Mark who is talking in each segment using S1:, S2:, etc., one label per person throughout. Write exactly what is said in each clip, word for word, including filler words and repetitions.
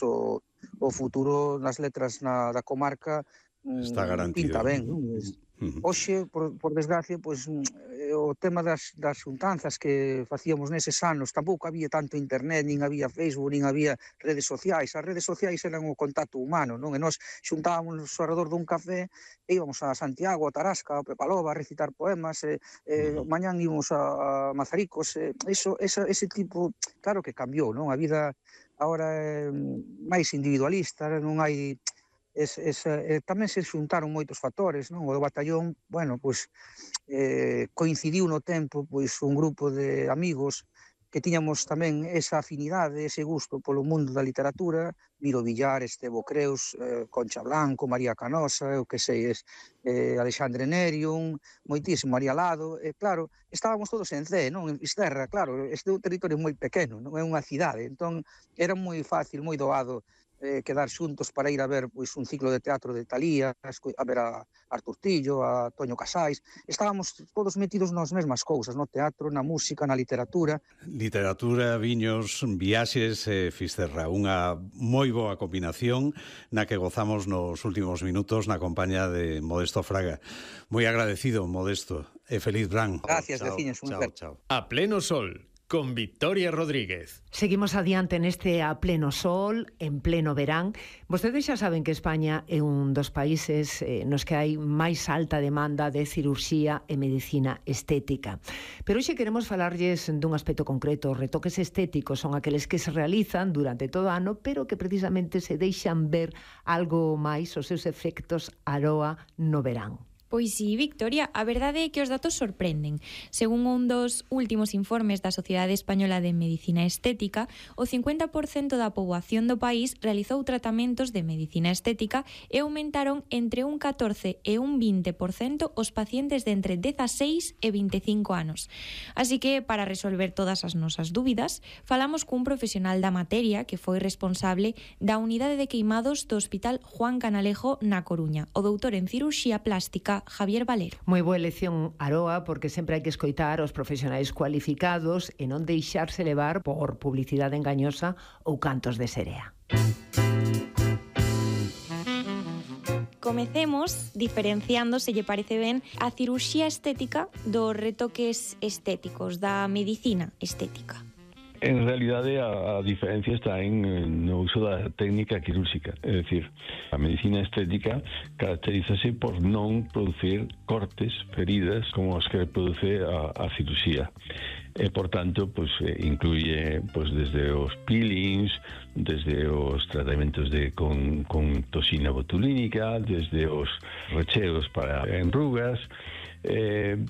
S1: o, o futuro nas letras na, da comarca
S2: está garantido.
S1: Pinta ben, non?
S2: Uh-huh.
S1: Hoxe, por, por desgracia, pois, o tema das, das xuntanzas que facíamos neses anos, tampouco había tanto internet, nin había Facebook, nin había redes sociais. As redes sociais eran o contacto humano, non? E nós xuntábamos ao redor dun café e íbamos a Santiago, a Tarasca, a Pepalova a recitar poemas, e, e uh-huh. mañán íbamos a, a Mazaricos, e, eso, esa, ese tipo, claro que cambiou, non? A vida agora é máis individualista, non hai... Es, es, eh, tamén se xuntaron moitos factores, non? O do batallón, bueno, pois eh, coincidiu no tempo pois un grupo de amigos que tiñamos tamén esa afinidade, ese gusto polo mundo da literatura, Miro Villar, Estevo Creus, eh, Concha Blanco, María Canosa, eu que sei, es, eh, Alexandre Nerium, moitísimo, María Lado, e eh, claro, estábamos todos en Cee, non? En Fisterra, claro, este é un territorio moi pequeno, non é unha cidade, entón era moi fácil, moi doado Eh, quedar xuntos para ir a ver pois, un ciclo de teatro de Talía, a ver a Artur Tillo, a Toño Casais. Estábamos todos metidos nas mesmas cousas, no teatro, na música, na literatura.
S2: Literatura, viños, viaxes e eh, Fisterra. Unha moi boa combinación na que gozamos nos últimos minutos na compañía de Modesto Fraga. Moi agradecido, Modesto, e feliz verán.
S1: Gracias, veciños.
S2: Chao, chao.
S3: A pleno sol, con Victoria Rodríguez.
S4: Seguimos adiante neste A pleno sol, en pleno verán. Vostedes xa saben que España é un dos países eh, nos que hai máis alta demanda de cirurxía e medicina estética. Pero hoxe queremos falarlles dun aspecto concreto. Os retoques estéticos son aqueles que se realizan durante todo o ano, pero que precisamente se deixan ver algo máis os seus efectos aroa no verán.
S5: Pois sí, Victoria, a verdade é que os datos sorprenden. Según un dos últimos informes da Sociedade Española de Medicina Estética, o cincuenta por cento da poboación do país realizou tratamentos de medicina estética e aumentaron entre un catorce e un vinte por cento os pacientes de entre dezaseis e vinte e cinco anos. Así que, para resolver todas as nosas dúbidas, falamos cun profesional da materia que foi responsable da unidade de queimados do Hospital Juan Canalejo na Coruña, o doutor en cirurxía plástica Javier Valero.
S4: Moi boa elección, Aroa, porque sempre hai que escoitar os profesionais cualificados e non deixarse levar por publicidade engañosa ou cantos de serea.
S5: Comecemos diferenciando, se lle parece ben, a cirurxía estética dos retoques estéticos, da medicina estética.
S6: En realidade, a, a diferencia está en no uso da técnica quirúrxica. É dicir, a medicina estética caracterízase por non producir cortes, feridas, como os que produce a, a cirurxía. E, por tanto, pues, incluye pues, desde os peelings, desde os tratamentos de con, con toxina botulínica, desde os recheos para enrugas, eh,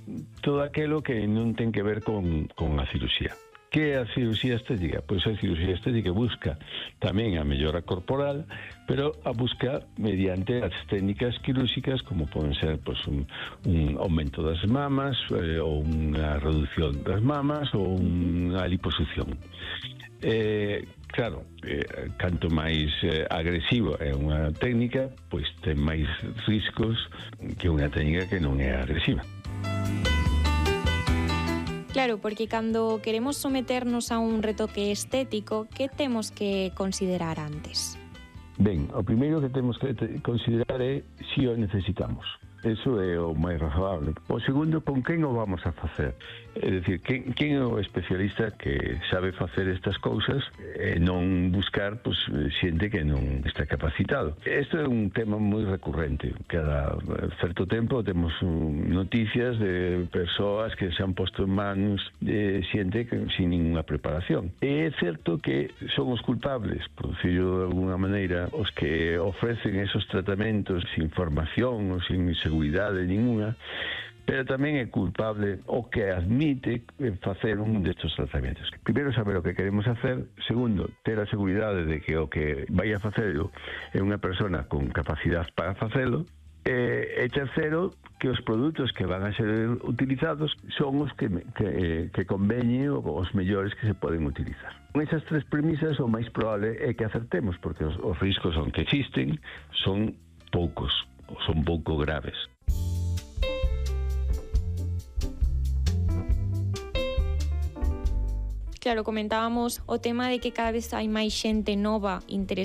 S6: todo aquelo que non ten que ver con, con a cirurxía. Que é a cirurxía estética? Pois a cirurxía estética busca tamén a mellora corporal, pero a busca mediante as técnicas quirúrxicas, como poden ser pois, un, un aumento das mamas, eh, ou unha reducción das mamas, ou unha liposucción. Eh, claro, eh, canto máis eh, agresiva é unha técnica, pois ten máis riscos que unha técnica que non é agresiva.
S5: Claro, porque cando queremos someternos a un retoque estético, que temos que considerar antes?
S6: Ben, o primeiro que temos que considerar é se o necesitamos. Eso é o máis razoable. O segundo, con quen o vamos a facer? É dicir, quen, quen é o especialista que sabe facer estas cousas e non buscar pues, xente que non está capacitado. Isto é un tema moi recurrente. Cada certo tempo temos noticias de persoas que se han posto en mans de xente que, sin ninguna preparación. E é certo que son os culpables, por decirlo de alguna maneira, os que ofrecen esos tratamentos sin formación ou sin seguridade ninguna, pero tamén é culpable o que admite facer un destes tratamentos. Primeiro, saber o que queremos hacer. Segundo, ter a seguridade de que o que vai a facelo é unha persona con capacidade para facelo. E, e terceiro, que os produtos que van a ser utilizados son os que, que, que conveñen os mellores que se poden utilizar. Con esas tres premisas, o máis probable é que acertemos, porque os, os riscos son que existen, son poucos, son pouco graves.
S5: Claro, comentábamos o tema de que cada vez hai máis xente nova interesada